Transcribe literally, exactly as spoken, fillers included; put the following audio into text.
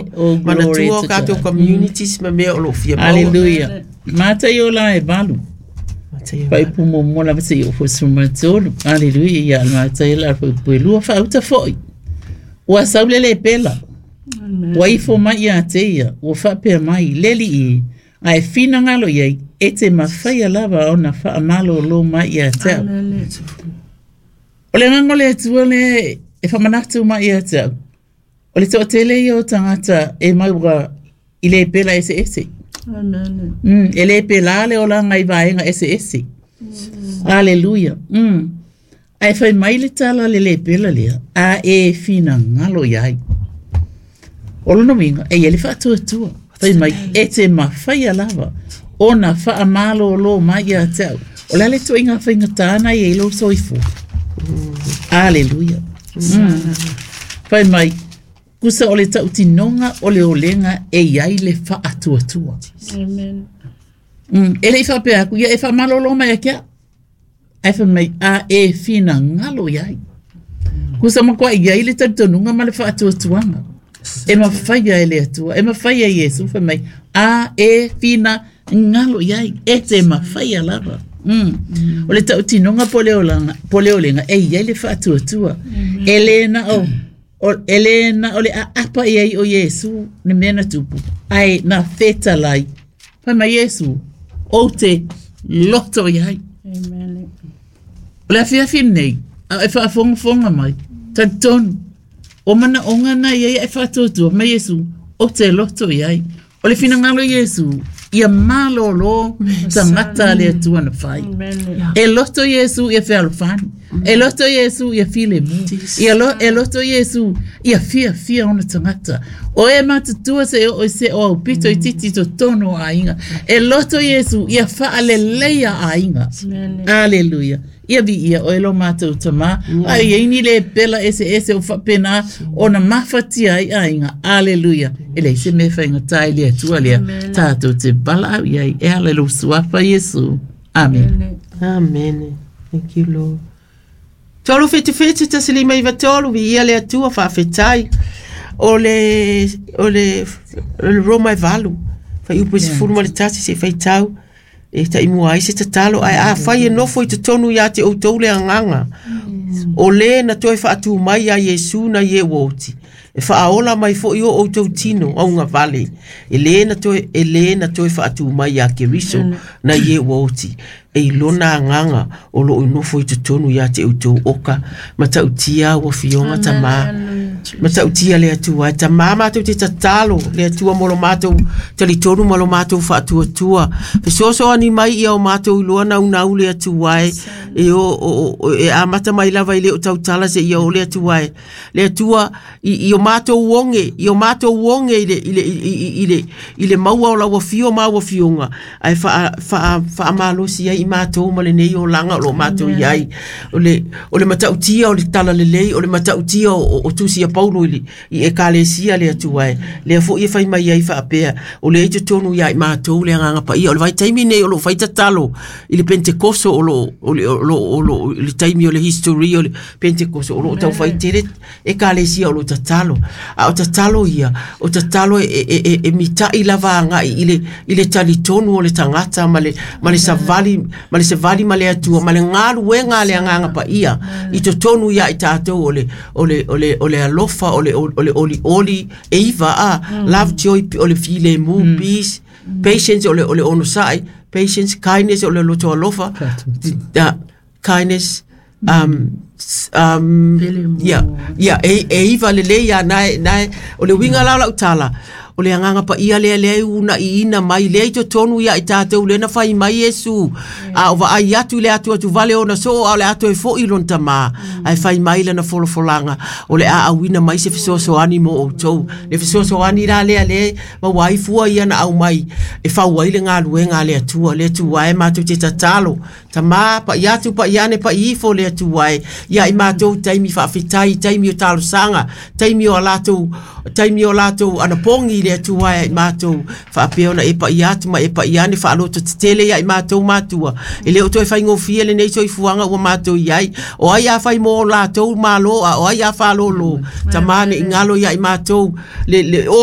Amen. Oh, glory Manatua o to tatou God. communities ma mea o lo o fia maua. Aleluia. Mataio la e valu. Faaiupu muamua lava seia oo foi i le sefulu ma tolu. Aleluia. Ia le Mataio la faaiupu e lua faauta foi. Ua sau le lepela. Ua ifo mai ia te ia, ua faapea mai, le Alii e, a e finagalo i ai, e te mafaia lava ona faamalōlō mai ia te au. O le agaga o le Atua lea e faamanatu mai ia te au, o le toatele ia o tagata e maua i lepela eseese. Mm, e le pela le olaga i vaega eseese. Aleluia. Mm. Ae fai mai le tala a le lepela lea, a e finagalo i ai. O lona uiga, e i ai le faatuatua. Fai mai, e te mafaia lava ona faamalōlō mai ia te au. O le a le ituaiga faigata na i ai lou soifua? Aleluia. Mm. Fai mai, tusa o le tautinoga o le olega e i ai le faatuatua. Amen. Mm. E le i faapea atu, ia e faamalōlō mai ia te au. Ae fai mai, a e finagalo i ai. Tusa matua i ai le talitonuga ma le faatuatuaga. E mafaia e le Atua, e mafaia e Iesu, fai mai, a e finagalo i ai, e te mafaia lava. Mm. O le tautinoga po o le olaga, po o le olega, e i ai le faatuatua. E le na o, o, e le na o le aapa i ai o Iesu le mea na tupu, ae na fetalai. Fai mai Iesu, ou te loto i ai. Amen. O le afiafi lenei, a o e faafogafoga mai, talitonu, o manaoga na i ai e faatuatua mai Iesu, ou te loto i ai. O le finagalo o Iesu, ia malōlō tagata a le Atua na fai. Amen. E loto Iesu ia fealofani. E loto Iesu ia filemu. Ia lo, e loto Iesu ia fiafia ona tagata. O e matutua se oo i se o aupito itiiti i totonu o aiga. E loto Iesu ia faaleleia aiga. Amen. Aleluia. Ia viia oe lo matou Tamā. A e i ai ni lepela eseese o faapena ona mafatia ai aiga. Aleluia. E leai se mea e faigata i le Atua lea. Tatou te valaau i ai e ala i lou suafa Iesu. Amene. Amene. Thank you, Lord. Tolu fitu fitu tasi lima iva tolu, viia le Atua, faafetai. O le, o le, o le Roma e valu, fuaiupu e sefulu ma le tasi se i faitau, e taimua ai se tatalo, ae afai e nofo i totonu ia te outou le agaga, o le na toe faatū mai ia Iesu nai e ua oti, e faaola mai foi o outou tino augavale, e le na toe, e le na toe faatū mai ia Keriso nai e ua oti, e i lona agaga o loo nofo i totonu ia te outou oka, matautia ua fioga Tamā. Matautia le Atua e Tamā matou te tatalo le Atua mo lo matou talitonu ma lo matou faatuatua. Fesoasoani mai ia o matou iloa naunau le Atua e e o, o, o, e amata mai lava i le o tautala seia oo le Atua e. Le Atua i, i o matou oge, i o matou oge i le, i le, i, i, i le, i le maua o lau afio ma au afioga, ae faa, faa, faamalosi ai i matou ma lenei olaga o lo o matou i ai. O le, o le matautia o le talalelei, o le matautia o, o, o Tusi a Paulo i, le, i Ekalesia le Atua e. Lea foi e fai mai ai faapea, o lea i totonu ia i matou le Agaga Paia. O le vaitaimi nei o lo o fai tatalo i le Pentekoso o lo o, o, lo, o, lo, i le taimi o le history o le Pentekoso o lo o taufai tele Ekalesia o lo o tatalo. A o tatalo ia, o tatalo e, e, e, e mitai lava agai i le, i le talitonu o le tagata ma le, ma le savali, ma le savali ma le Atua, ma le galuega a le Agaga Paia i totonu ia i tatou o le, o le, o le, o le alofa, o le, o le olioli, e iva a, love, joy, o le filemu, peace, patience, o le, o le onosai, patience, kindness, o le loto alofa, uh, kindness, um, um, ia, ia, e, e iva lelei a nae, nae, o le uiga la o lau tala, o le Agaga Paia lea lea e uunaiina mai, lea i totonu ia i tatou, lea na fai mai Iesu, a o vaai atu i le atuatuvale ona soo, a o le a toe foi i lona Tamā, ae fai mai lana folafolaga, o le a auina mai se fesoasoani mo outou. Le fesoasoani la lea lea e maua ai fua ia na aumai e fau ai le galuega a le Atua, le Atua e matou te tatalo, Tamā, pa'i atu, pa'i ane, pa'i ifo le Atua e, ia i matou taimi faafetai, taimi o talosaga, taimi o a latou, taimi o latou anapogi i le Atua e i matou, faapea ona e pa'i atu ma e pa'i ane, faalototetele ia i matou matua, e le o toe faigofie lenei soifuaga ua matou i ai, o ai a fai mo latou malo, a o ai a faalōlō, Tamā ne i galo ia i matou, le, le oa